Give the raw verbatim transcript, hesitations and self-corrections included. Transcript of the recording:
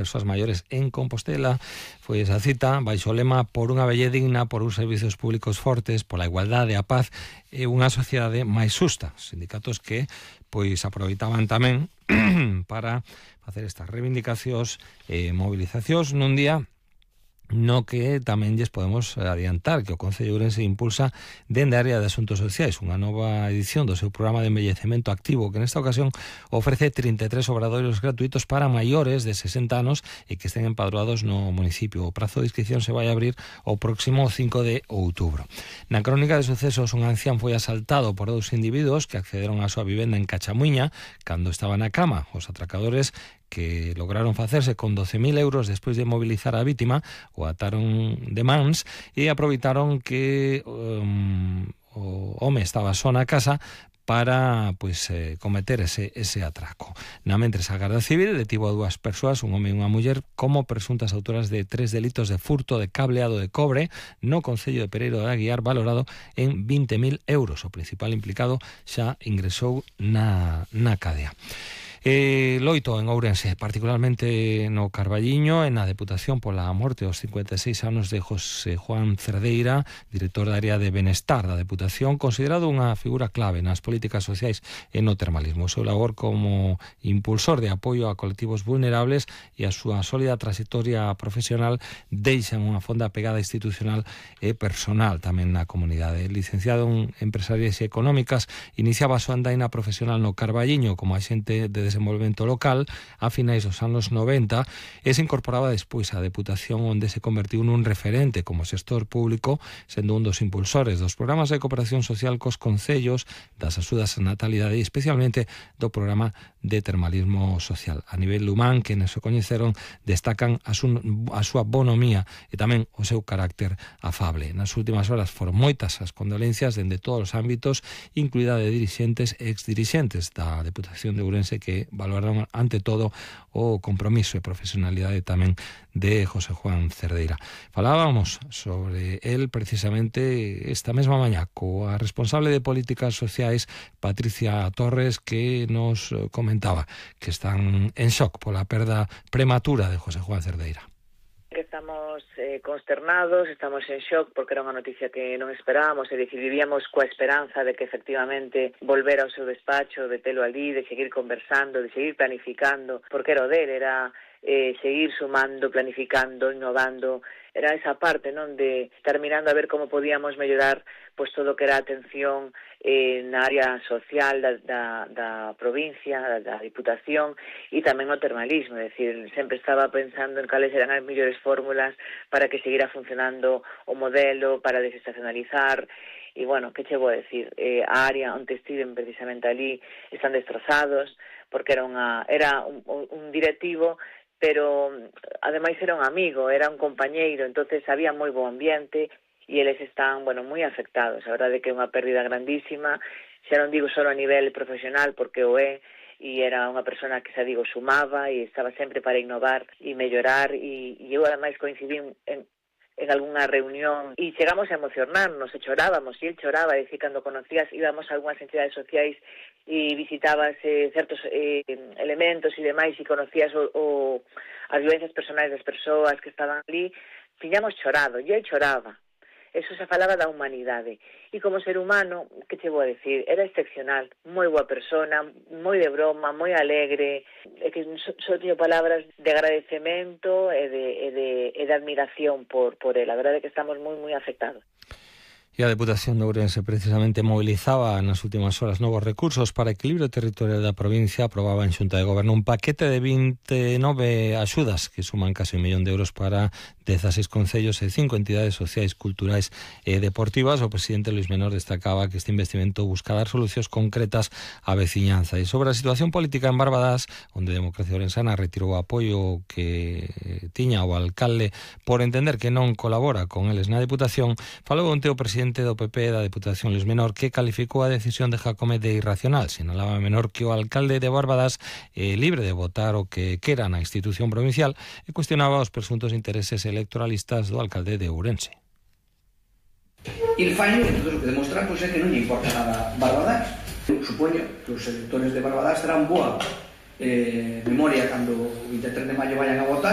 persoas maiores en Compostela. Foi esa cita baixo o lema "Por unha velle digna, por uns servizos públicos fortes, pola igualdade, a paz e unha sociedade máis xusta". Sindicatos que pois aproveitaban tamén para facer estas reivindicacións e movilizacións nun día no que tamén lles podemos adiantar que o Concello de Ourense impulsa dende a área de Asuntos Sociais unha nova edición do seu programa de envellecemento activo, que nesta ocasión ofrece trinta e tres obradoiros gratuitos para maiores de sesenta anos e que estén empadroados no municipio. O prazo de inscripción se vai abrir o próximo cinco de outubro. Na crónica de sucesos, un ancián foi asaltado por dous individuos que accederon á súa vivenda en Cachamuiña cando estaba na cama. Os atracadores, que lograron facerse con doce mil euros despois de mobilizar a vítima, o ataron de mans e aproveitaron que um, o home estaba só na casa para pois, eh, cometer ese, ese atraco. Na mentres, a Garda Civil detivo a dúas persoas, un home e unha muller, como presuntas autoras de tres delitos de furto de cableado de cobre no Concello de Pereiro de Aguiar, valorado en vinte mil euros. O principal implicado xa ingresou na, na cadea. Eh, loito en Ourense, particularmente no Carballiño, en a Deputación pola morte aos cincuenta e seis anos de José Juan Cerdeira, director da área de Benestar da Deputación, considerado unha figura clave nas políticas sociais e no termalismo. O seu labor como impulsor de apoio a colectivos vulnerables e a súa sólida trayectoria profesional deixan unha fonda pegada institucional e personal tamén na comunidade. Licenciado en Empresarias Económicas, iniciaba a súa andaina profesional no Carballiño como axente de desenvolvemento local a finais dos anos noventa e se incorporaba despois á Deputación, onde se convertiu nun referente como xestor público, sendo un dos impulsores dos programas de cooperación social cos concellos, das axudas á natalidade e especialmente do programa de termalismo social. A nivel humán, que nos coñeceron, destacan a, su, a súa bonomía e tamén o seu carácter afable. Nas últimas horas foron moitas as condolencias dende todos os ámbitos, incluída de dirixentes e exdirixentes da Deputación de Ourense, que valoraron ante todo o compromiso e profesionalidade tamén de José Juan Cerdeira. Falábamos sobre él precisamente esta mesma mañá coa responsable de políticas sociais, Patricia Torres, que nos comentaba que están en shock pola perda prematura de José Juan Cerdeira. Estamos eh, consternados, estamos en shock porque era unha noticia que non esperábamos, e dicir, vivíamos coa esperanza de que efectivamente volvera ao seu despacho, de telo ali, de seguir conversando, de seguir planificando, porque era o dele, era eh, seguir sumando, planificando, innovando, era esa parte, non, de estar mirando a ver como podíamos mellorar pois todo o que era a atención eh, na área social da, da, da provincia, da, da Diputación, e tamén o termalismo, é dicir, sempre estaba pensando en cales eran as mellores fórmulas para que seguira funcionando o modelo, para desestacionalizar. E, bueno, que che vou decir, eh, a área onde estiven precisamente ali están destrozados, porque era, unha, era un, un directivo, pero ademais era un amigo, era un compañeiro, entonces había moi bo ambiente e eles están, bueno, moi afectados. A verdade é que é unha pérdida grandísima, xa non digo só a nivel profesional, porque o é, e era unha persona que, xa digo, sumaba e estaba sempre para innovar e mellorar, e, e eu ademais coincidí en, en algunha reunión e chegamos a emocionarnos e chorábamos, e el choraba, e dicir, cando conocías, íbamos a algunhas entidades sociais e visitabas eh, certos eh, elementos e demais e conocías o, o, as vivencias personais das persoas que estaban ali, tiñamos chorado, e el choraba. Eso se falaba da humanidade. E como ser humano, que che vou a decir, era excepcional, moi boa persona, moi de broma, moi alegre, é que só so teño palabras de agradecemento e de, e de, e de admiración por, por él. A verdade é que estamos moi, moi afectados. E a Deputación de Ourense precisamente mobilizaba nas últimas horas novos recursos para equilibrio territorial da provincia. Aprobaba en Xunta de Goberno un paquete de vinte e nove axudas que suman case un millón de euros para dezaseis concellos e cinco entidades sociais, culturais e deportivas. O presidente Luís Menor destacaba que este investimento busca dar solucións concretas á veciñanza. E sobre a situación política en Barbadas, onde Democracia Ourensana retirou o apoio que tiña o alcalde por entender que non colabora con eles na Deputación, falou onte o presidente do P P da Deputación, Luís Menor, que calificou a decisión de Jacome de irracional. Sinalaba Menor que o alcalde de Barbadas é libre de votar o que quera na institución provincial e cuestionaba os presuntos intereses electoralistas do alcalde de Ourense. E el fallo, entonces, o que demostra pues, é que non lle importa nada Barbadas. Eu supoño que os electores de Barbadas terán boa eh, memoria cando o vinte e tres de maio vayan a votar.